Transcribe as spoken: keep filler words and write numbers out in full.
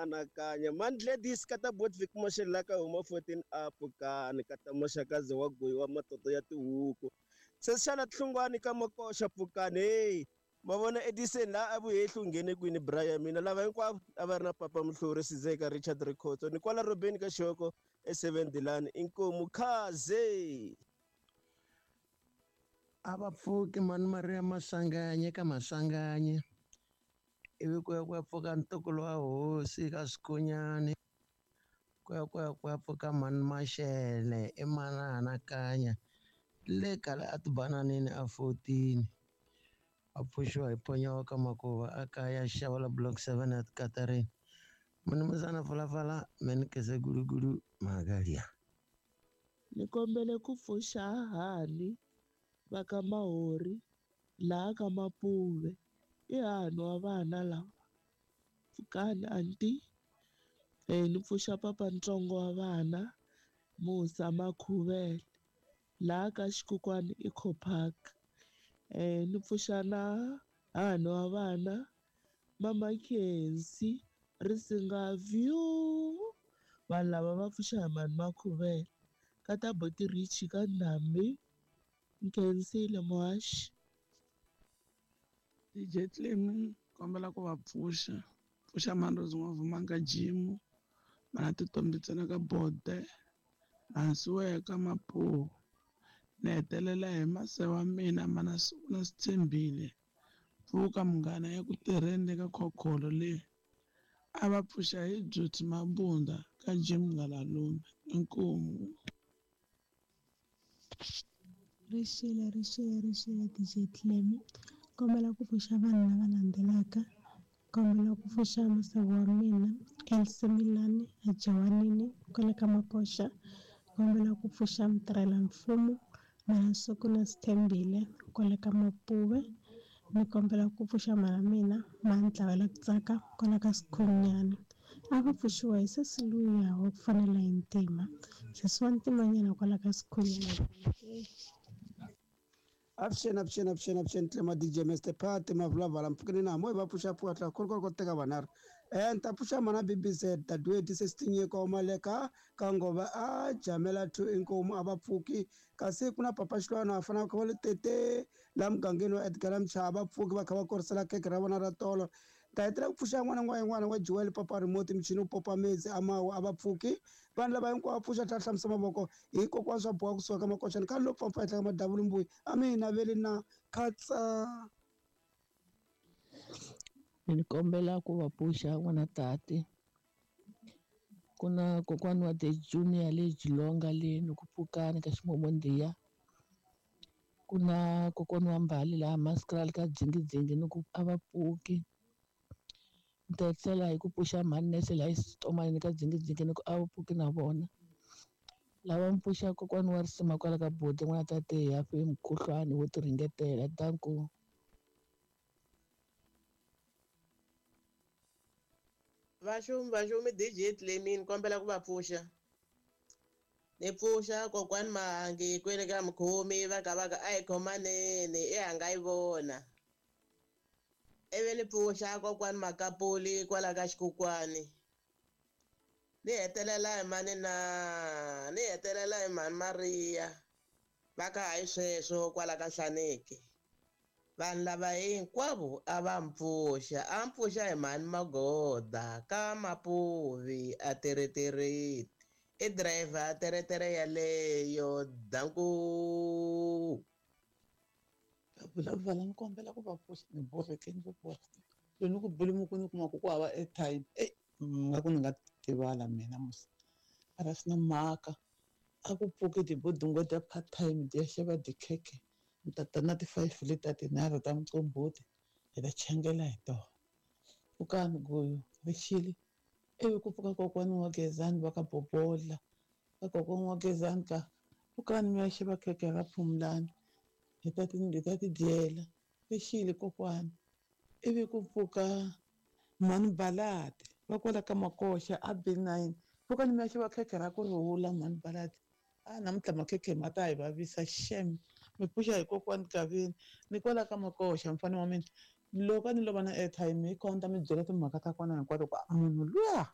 Anakanya Mandledis ka ta Botvik Mashela ka huma fourteen up kani ka ta Maxakazi wa goyi wa matoto ya tihuku. Sesi xana Hlungwani ka Makoxa pfukani hey ma vona Edison la a vuhehli u nghene kwini Brian mina lava hinkwavo a va ri na Papa Muhluri Sizeka Richard Rikhotso ni kwala Robeni ka Xoko e seven Dilani inkomu khaze. A va pfuki mani Maria Masanganye ka Masanganye ivi ku ya ku ya pfuka ntukulu wa hosi ka Swikonyani ku ya ku ya ku ya pfuka mani Maxele i manana Kanya le kale a tibananini a fourteen a pfuxiwa hi Ponyawa ka Makuva a kaya xava la block seven at Katarina munumuzana Phalaphala menikese gulugulu magalia. Ni kombele ku pfuxa hahani va ka Mahori laha ka Mapuve i hahani wa vana lava pfukani anti eh ni pfuxa papa ntsongo wa vana Musa Makhuvele laha ka Xikukwani Eco Park eh ni pfuxa na hahani wa vana Mama Khensi Risinga View vanhu lava va pfuxa hi mani Makhuvele ka ta Boti Rich ka Ndhambi Nkhensile muhaxi. D J Clem kombela ku va pfuxa pfuxa Mandrozi N'wavumanga Jimu mana Titombi ntsena ka Bode hansiweke ka Mapuwa ni hetelela hi mase wa mina mana na Sithembile pfuka munghana ya ku tirheni ka khokholo leyi a va pfuxa hi Beauty Mabunda ka Jim Ngalalume inkomu. Rixile rixile rixile D J Clem kombela ku pfuxa vanhu lava landzelaka kombela ku pfuxa masego wa mina Elsie Milani a Jawanini kwale ka Makoxa kombela ku pfuxa mutirhela mfumo Mansuku na Sithembile kwale ka Mapuve ni kombela ku pfuxa mhana mina Mantlawela ku tsaka kwala ka Sikhunyana a va pfuxiwa hi sesi luya wa ku fanela hi ntima sesi wa ntimanyana kwala ka Sikhunyana. Avuxeni avuxeni avuxeni avuxeni Tlema D J Mister Pat Mavulavala mpfukeni na mo hi va pfuxa pfuka tla kholo kholo teka vanharhu eh ni ta pfuxa mana B B Z Dadewethu Sesinyeko wa Maleka ka Ngova a Jamela two inkomu a va pfuki kasi ku na Papa Xilwana a fanaka va le tete la mugangeni wa Edgar Mchava va pfuki va kha va korisela keke ra vona ra tolo ta hetelela ku pfuxa n'wana n'wana n'wana wa Joel Papa Remote michini wu popa metsi a mawa a va pfuki vanhu lava hinkwavo va pfuxa tlhela hlamusa mavoko hikokwalaho swa boha kusuka ka Makoxani khale lo pfapfa henhla ka madavula mbuyi a mi hi naveli na khatsa. Ni kombela ku va pfuxa n'wana tati ku na kokwani wa The Junior le Jilonga le ni ku pfukani ka Ximomondiya ku na kokwani wa Mbali laha Maskraal ka Dzingidzingi ni ku a va pfuki ni ta tlhela hi ku pfuxa mhani nese laha Xitomanini ka Dzingidzingi ni ku a va pfuki na vona lava mi pfuxa kokwani wa Risima kwala ka Boti n'wana tate hi hafe mukhuhlwani wo ti ringetela danko. Vaxumi vaxumi D J Clemin kombela ku va pfuxa ni pfuxa kokwani Mahangi kwele ka Mukhomi va ka va ka a hi khomanene i hanga yi vona ivi ni pfuxa kokwani Makapuli kwala ka Xikukwani ni hetelela hi mani na ni hetelela hi mhani Maria va ka hayi sweswo kwala ka Hlaneki vanhu lava hinkwavo a va mpfuxa a mpfuxa hi mhani Magoda ka Mapuvi a teretereti i driver teretere yaleyo danku. Vulavula ni kombela ku va pfuxa ni borheke ni borheke loko ni ku bule ku ni kuma ku ku hava airtime e nga ku ni nga tivala mina musi a ra swi na mhaka a ku pfuki tibodungo ta part time ti ya xava tikhekhe ni ta ta na ti-five lita tinharhu ta muqombhoti hi ta changela hi tona pfukani guyu rixile ivi ku pfuka kokwani wa Gezani va ka Bobola ka kokwani wa Gezani ka pfukani mi ya xava khekhe ra Phumlani hi ta ti hi ta ti dyela rixile kokwani ivi ku pfuka mhani Balati va kwala ka Makoxa a B nine pfukani mi ya xava khekhe ra ku rhula mhani Balati a namuntlha makhekhe ma ta hi vavisa xem mi pfuxa hi kokwani Gavini ni kwala ka Makoxa mfana wa mina loko a ni lova na airtime hi kona ni ta mi byela timhaka ta kona hinkwato ku munhu luya